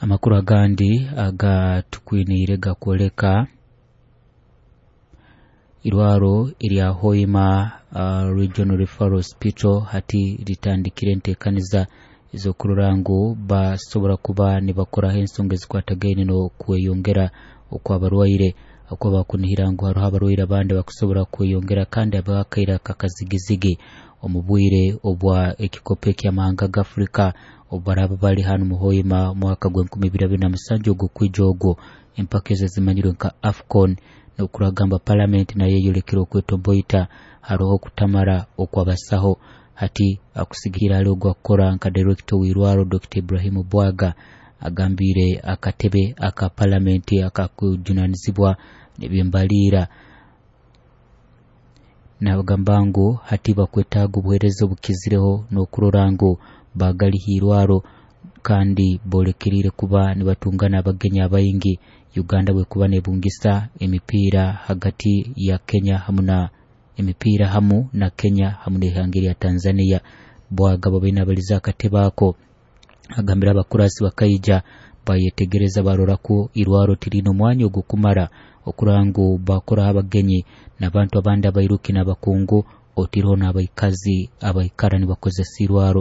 Amakuru agandi agatukwiniire gakwoleka irwaro erya Hoima Regional Referral Hospital hati litandikire enteekaniza ez'okurora ngu basobora kuba nibakoraho ensonga ezikwatagaine n'okweyongera okw'abarwaire, okuba bakunihira ngu haroho abarwaire abandi bakusobora kweyongera kandi abakaire akakazigizigi omu bwire obwa ekikopo eky'amahanga g'Afrika obu baraaba bali hanu mu Hoima mwaka gw'e2027 ogw'okwija ogwo empaka ezo ezimanyirwe nka AFCON. N'okuragamba palamenti nayo eyolekere okwetomboita haroho okutamara okw'abasaho. Hati akusigira ali ogwakukora nka director w'irwaro Dr. Ibrahim Bwaga agambiire akatebe aka palamenti akakujunanizibwa n'ebyembaliira nabagamba ngu hati bakwetaaga obuheereza obukizireho n'okurora ngu bagaliha irwaro kandi boolekeriire kuba nibatungana abagenyi abaingi Uganda bwekuba nebungisa emipiira hagati ya Kenya hamu na emipiira hamu na Kenya hamu n'ihanga erya Tanzania. Bwaga babaine abalize akatebe ako agambire abakurasi bakaija bayetegereza barora ku irwaro tiriine omwanya ogukumara okurora ngu bakoraho abagenyi n'abantu abandi abairuki n'abakungu otiireho n'abaikazi abaikara nibakozesa irwaro.